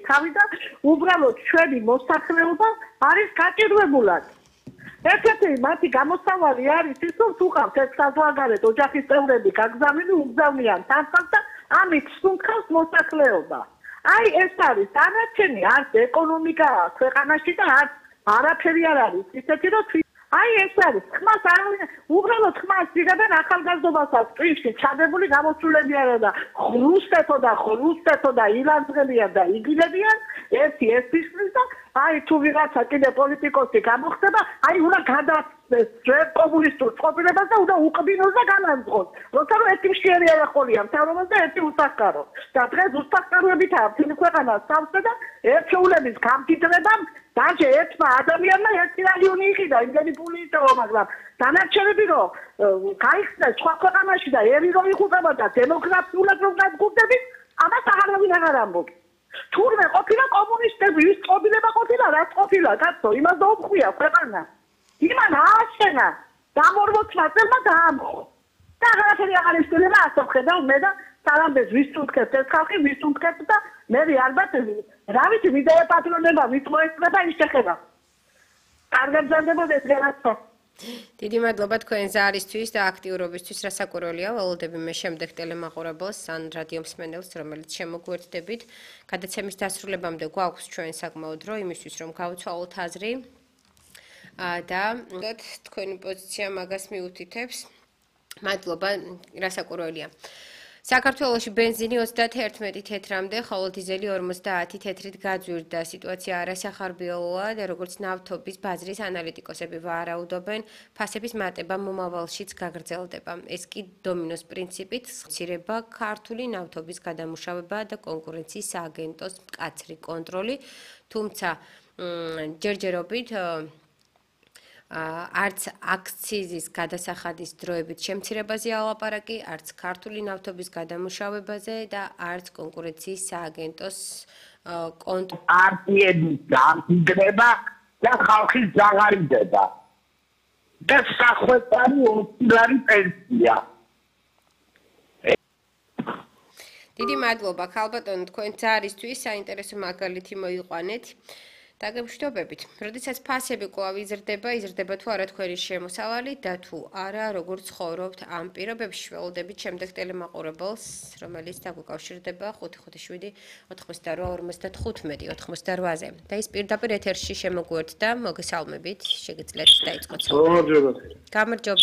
თავი და უბრალოდ ჩვენი მოსახლეობა არის გაჭირვებულად. ერთ-ერთი მათი გამოსავალი არის ის, რომ თუ ყავთ ეს საზღვარგარეთ ოჯახის წევრები გაგზავნილი უგზავნიან თანხას და ამით სუნთქავს მოსახლეობა. აი ეს არის დანარჩენი არც ეკონომიკა ქვეყანაში და არც არაფერი არ არის ისეთი რომ აი ეს არის ხმას არავინ უბრალოდ ხმას იღებენ ახალგაზრდობასაც წინში ჩადებული გამოსულები არა და ხრუსტეთო და ილანძღებიან და იგილებიან ერთი ეს ისმის და აი თუ ვიღაცა კიდე პოლიტიკოსი გამოხდება აი უნდა გადასცეს ჩვენ კომუნისტურ წყობილებას და უნდა უყბინოს და განანძღოს როცა რომ ერთი მშიერი არახოლია მთავრობას და ერთი უსახკარო და დღეს უსახკაროებითაა მთელი ქვეყანა სავსე და ერთეულების გამდიდრებამ დაჟე ერთმა ადამიანმა 1 მილიონი იყიდა იმდენი ფული იწევა მაგრამ დანარჩენები რომ გაიხსნეს სხვა ქვეყანაში და ერი რომ იღუპება და დემოგრაფიულად რომ გადგუგდებით ამას აღარავინ აღარ ამბობს თურმე ყოფილა კომუნისტები ის წყობილება ყოფილა რაც ყოფილა კაცო იმას დაუყვია ქვეყანა იმან ააშენა დამორბოთმა წელმა დაამხო და აღარაფერი აღარ ისწავლება ასე ხედავ მე და სალამბეს ვის თუნდქებს ეს ხალხი ვის თუნდქებს და მე ალბათ რა ვიცი ვიდეო პატრონება ვის მოეწება ის შეხება კარგად ზარდებოდეს განაცო დიდი მადლობა თქვენ ზარისთვის და აქტიურობისთვის რასაკვირველია ველოდები მე შემდეგ ტელემაყურებელს ან რადიო მსმენელს რომელიც შემოგვერთდებით გადაცემის დასრულებამდე გვაქვს ჩვენ საკმაოდ დრო იმისთვის რომ გავცვალოთ აზრი და თქვენი პოზიცია მაგას მიუთითებს მადლობა რასაკვირველია საქართველოში ბენზინი 31 თეთრამდე, ხოლო დიზელი 50 თეთრით გაძვირდა. სიტუაცია არასახარბიელოა და როგორც ნავთობის ბაზრის ანალიტიკოსები ვარაუდობენ, ფასების მატება მომავალშიც გაგრძელდება. ეს კი დომინოს პრინციპით მცირება ქართული ნავთობის გადამუშავება და კონკურენციის სააგენტოს მკაცრი კონტროლი, თუმცა ჯერჯერობით არც აქციზის გადასახადის დროებით შემცირებაზე ალაპარაკი, არც ქართული ნავთობის გადამუშავებაზე და არც კონკურენციის სააგენტოს პარტიების გამდიდრება და ხალხის ზაღარიდება და სახვეწარი ოსილარი პენსია. დიდი მადლობა ქალბატონო თქვენ ზარისთვის საინტერესო მაგალითი მოიყვანეთ. დაგემშვიდობებით. როდესაც ფასები კვლავ იზრდება თუ არა თქვენი შემოსავალი და თუ არა როგორ ცხოვრობთ ამ პირობებში ველოდებით შემდეგ ტელემაყურებელს, რომელიც დაგვიკავშირდება 557 88 55 88-ზე. და ის პირდაპირ ეთერში შემოგვერთდა, მოგესალმებით, შეგიძლიათ დაიწყოთ. გამარჯობა.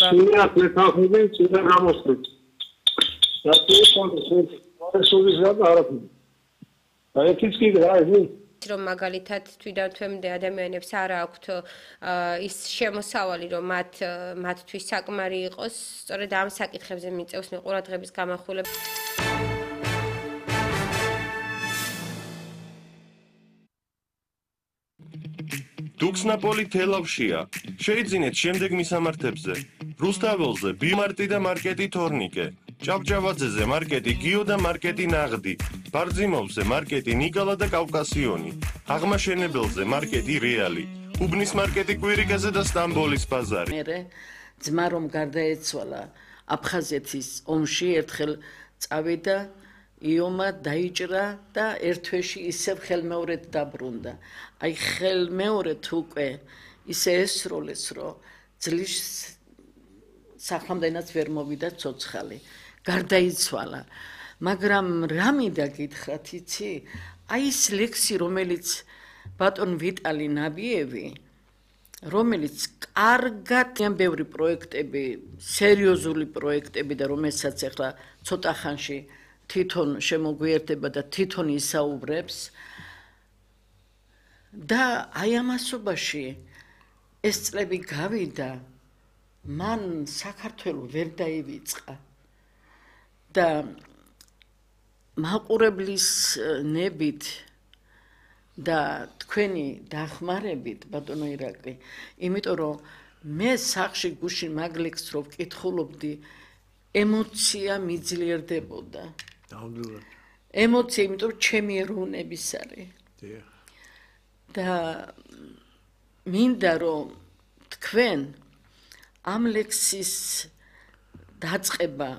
რომ მაგალითად თვითდათვემდე ადამიანებს არ აქვთ ის შემოსავალი რომ მათთვის საკმარი იყოს სწორედ ამ საკითხებზე მიწევს ყურადღების გამახვილება დუქსნაპოლი თელავშია შეიძინეთ შემდეგ მისამართებზე რუსთაველზე ბიმარტი და მარკეტი თორნიკე ჭავჭავაძეზე მარკეტი გიო და მარკეტი ნაღდი ბარძიმოვზე მარკეტი ნიკალა და კავკასიონი აღმაშენებელზე მარკეტი რეალი უბნის მარკეტი კვირიკაზე და სტამბოლის ბაზარი მე ძმა რომ გარდაეცვალა აფხაზეთის ომში ერთხელ წავიდა იომა დაიჭრა და ერთ თვეში ისევ ხელმეორედ დაბრუნდა აი ხელმეორედ უკვე ისე ესროლეს რომ ძლის სახლამდენაც ვერ მოვიდა ცოცხალი გარდაიცვალა მაგრამ რა მინდა გითხრათ იცი აი ეს ლექსი რომელიც ბატონ ვიტალი ნაბიევი რომელიც კარგად ბევრი პროექტები სერიოზული პროექტები და რომელსაც ახლა ცოტა ხანში თვითონ შემოგვიერთდება და თვითონ ისაუბრებს და აი ამასობაში ეს წლები გავიდა მან საქართველოს ვერ დაივიწყა და მაყურებლის ნებით და თქვენი დახმარებით ბატონო ირაკლი იმიტომ რომ მე სახში გუშინ მაგლექს რო ვკითხულობდი ემოცია მიძლიერდებოდა ემოცია იმიტომ რომ ჩემი ეროვნების არის და მინდა რომ თქვენ ამ ლექსის დაწყება